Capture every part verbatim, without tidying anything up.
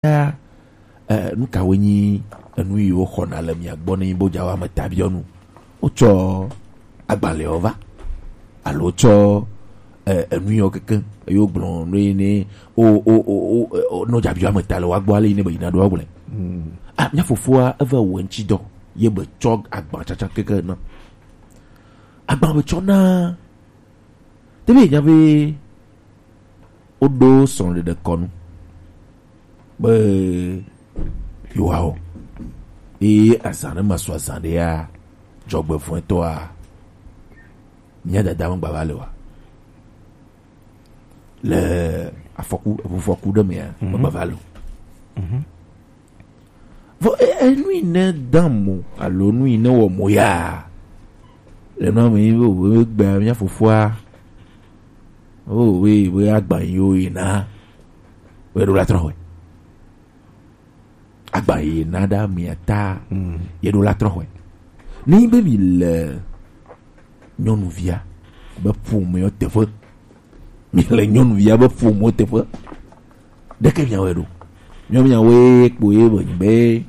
ya, eh, nu kawoe nyi enu yiwo xɔna le mia gbɔ ne nyi be wodza wɔ ametabiɔnu? Wotsɔ agbalẽwo va alo wotsɔ, eh, enu yiwo kekeŋ eye wogblɔ nu yi ne o o o o o nɔ dzabiɔ ameta le woagbɔ ale yi ne be yina ɖo agblɔe. Ah, mia fofoa eva wɔ ŋutsi dɔ ye be tsɔ agba tsatsa keke na. Agba be tsɔ na. Tebe nya be woɖo srɔ̃ɖeɖe kɔnu be yewoawɔ. Eye azã ne masu azã ɖea, dzɔgbevɔ̃etɔa, mía dada megbava le oa? Le afɔku, eʋufɔku ɖe mea, megbava le o. Vɔ e- enu yi ne dam mo alo nu yi ne wɔ mo ya le nua me yi be wo gbea mía fofoa, o we we agba yi wo yi na we ɖo la trɔ hɔe. Agba yi na ɖa mia ta ye ɖo la trɔ hɔe. Ne yi be mi le nyɔnuvia be ƒomeɔ teƒe, mi le nyɔnuvia be ƒomeɔ teƒe, ɖeke miawɔe ɖo. Miawo miawoe kpo ye be nyi be,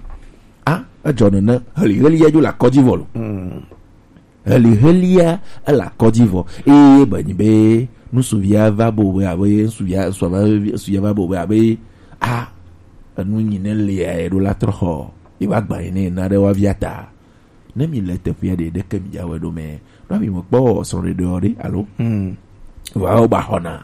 a, edzɔ nene, heli heli ya dzo le akɔdzi vɔ lo. Heli helia ele akɔdzi vɔ. Eye be nyi be nusuvia va bo be abe nusuvia, nusuvia va, nusuvia va bo be abe, a, enu nyi ne lia ye ɖo la trɔ xɔ. Ye va gba yi ne na ɖe wa via ta. Ne mi le teƒea ɖe ɖeke mi dza wɔe ɖo mɛ. Nua mi me kpɔ srɔ̃ɖeɖeɔ ɖe alo? Vɔa wo ba xɔna.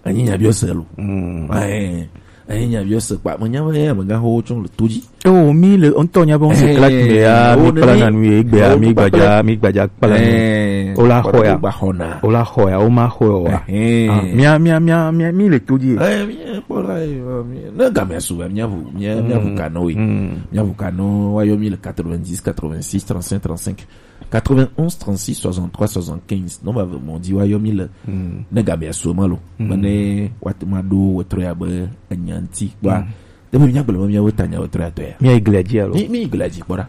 Anyi nya biɔ se lo. Ɛɛ, anyi nya biɔ se kpa. Me nya be ame gã ho tso le to dzi. Oh, mi le ŋutɔ nya be ŋutɔ kla me ya, mi kpla na nu ye gbe ya, mi gbadza, mi gbadza kpla nu. Wo la xɔ ya. Ba xɔna. Wo la xɔ ya, wo ma xɔ ya wa. Ah, mia, mia, mia, mia, mi le to dzi. Ɛɛ, mi kpɔ la ye, mi, ne game su ba, mia ʋu, mia, mia ʋu kanɔ ye. Mia ʋu kanɔ wa yɔ mi le quatre-vingt-dix, quatre-vingt-six, trente-cinq, trente-cinq. Quatre-vingt-onze, trente-six, soixante-trois, soixante-quinze. Non, ba, mon dit, wa yɔ mi le. Ne game su ma lo. Mane, wa te ma do, wa trɔ ya be, enyanti, wa. Te be mia gblɔ be mia wo ta nya wo trɔ ya tɔ ya. Mia yi glia dzi alo? Mi, mi yi glia dzi kpɔ ɖa.